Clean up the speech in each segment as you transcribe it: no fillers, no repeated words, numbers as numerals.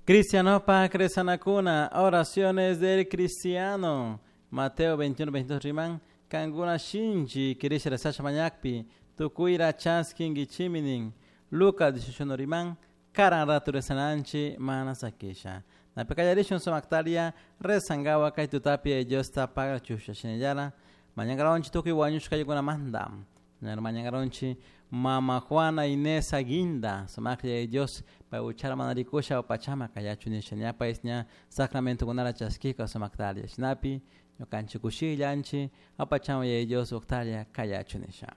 Cristianopa Cresanacuna, oraciones del cristiano. Mateo 21, 22 riman, kankuna shinchi kirisha rezasha mañakpi, tukuyra chaskinkichiminin. Lucas 18 riman, karan ratu rezananchi mana sakisha. Napi sumaktaria rezangawa kay tutapi Diosta paga chusha shinallara, mañangaronchi tukuy wañushkaykunamanta. Mañangaronchi Mama Juana Inés Aguinda, sumaklla Dios, pay uchara manarikusha pachama kayachu nisha ñapa ña sacramento kunara chaskika sumaktaria. Shinapi ñukanchik kushillanchi apachama Dios uqtaria kayachu nisha.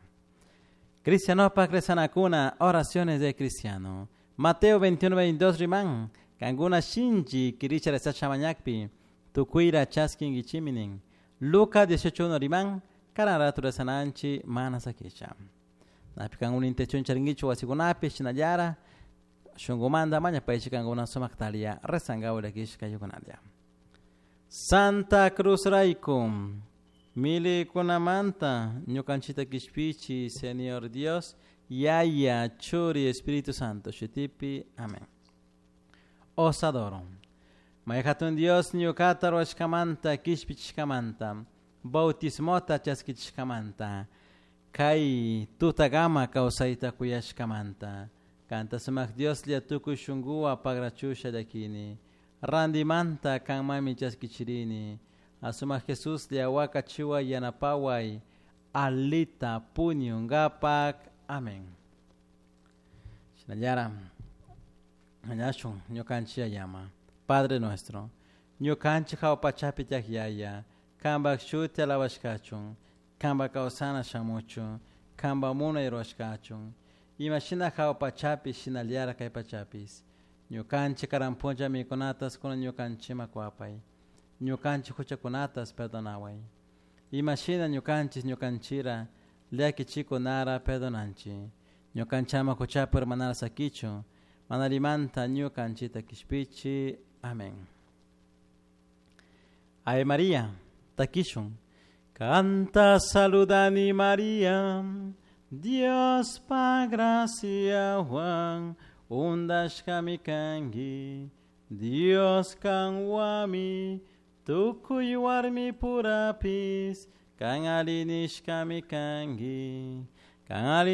Cristianopa rezanakuna, oraciones de cristiano. Mateo 21, 22 riman, kankuna shinchi kirisha rezasha mañakpi, tukuyra chaskinkichiminin. Lucas 18, 1 riman, karan ratu rezananchi mana sakisha. Napi kankuna intención charinkichu wasikunapi shinallara, shunkumanta mañapaychi kankuna sumaktaria rezangawa llakishka yukunalla. Santa Cruz rayku, milikunamanta ñukanchita kishpichi, Señor Dios, Yaya, Churi, Espíritu Santo, shutipi, amén. Os adoro. May hatun Dios ñukata ruwashkamanta, kishpichishkamanta, bautismota chaskichishkamanta, kay tutagama kawsayta kuyashkamanta, kanta sumak Dioslla tukuy shunkuwa pagrachusha llakini, randimanta kanmami chaskichirini, asumak Jesuslla wakachiwa yanapaway, alita puñungapak, amén. Shinallara, mañashun ñukanchik yayama, Padre nuestro, ñukanchik hawa pachapi tiyak yaya, kanpak shuti alabashkachun, kanpak kawsana shamuchun, kanpak munay rurashkachun, imashina hawa pachapi shinallara kay pachapis, ñukanchik karan punlla mikunatas kunan ñukanchikman kuwapay, ñukanchik huchakunatas perdonaway, imashina ñukanchik ñukanchira llakichikunara perdonanchik, ñukanchik ama huchapi urmanara sakichun, manarimanta ñukanchikta kishpichi. Amén. Ave María, takishun. Kanta saludani María, Dios pa graciahuan, undashkami kanki, Dios kanwami, tukuy warmi purapis, kan alli nishkami kanki, kan alli.